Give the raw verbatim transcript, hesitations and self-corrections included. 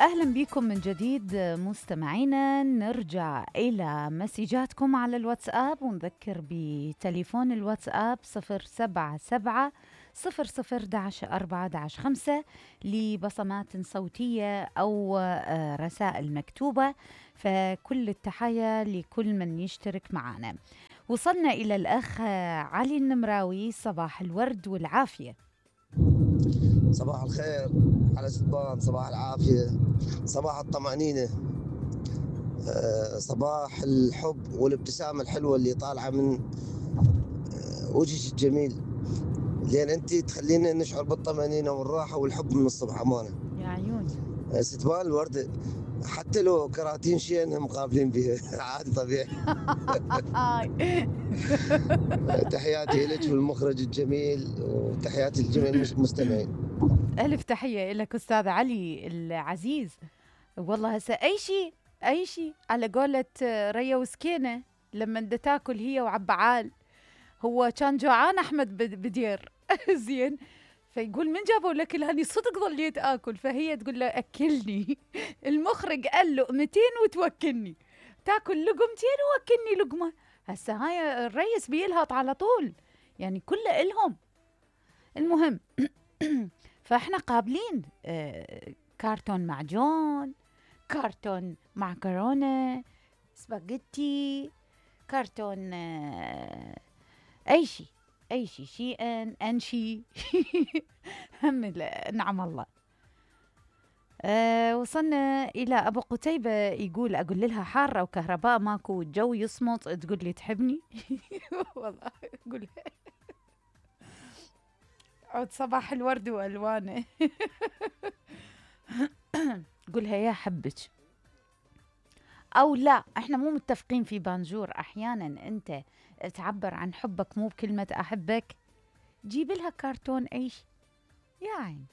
أهلا بكم من جديد مستمعينا. نرجع إلى مسجاتكم على الواتساب ونذكر بتليفون الواتساب صفر سبعة سبعة صفر صفر داش أربعة داش خمسة لبصمات صوتية أو رسائل مكتوبة. فكل التحية لكل من يشترك معنا. وصلنا إلى الأخ علي النمراوي. صباح الورد والعافية. صباح الخير على ستبان، صباح العافية، صباح الطمأنينة، أه صباح الحب والابتسامة الحلوة اللي طالعة من أه وجهك الجميل، لأن أنت تخلينا نشعر بالطمأنينة والراحة والحب من الصبح. أمانة يا عيوني. أه ستبان الوردة حتى لو كراتين شيء مقابلين بها عادي طبيعي. تحياتي لك والمخرج الجميل وتحياتي لجميع المستمعين. ألف تحية لك أستاذ علي العزيز. والله هسه أي شيء أي شيء على قولة ريا وسكينة لما دا تاكل هي وعبعال. هو كان جوعان أحمد بدير زين، فيقول من جابوا لك الهني؟ صدق ظليت آكل. فهي تقول له أكلني. المخرج قال لقمتين وتوكلني، تاكل لقمتين ووكلني لقمة. هسه هاي الريس بيلهط على طول، يعني كله إلهم. المهم فاحنا قابلين آه كارتون معجون، كارتون معكرونة، سباجيتي، كارتون آه اي شيء اي شيء شيئا انشي. هم نعم الله. أه وصلنا إلى أبو قتيبة يقول أقول لها حارة وكهرباء ماكو والجو يصمت، تقول لي تحبني. والله أقول عود صباح الورد وألوانه. قولها يا حبك أو لا. إحنا مو متفقين في بانجور. أحيانا أنت تعبر عن حبك مو بكلمة أحبك، جيب لها كرتون أيش يعني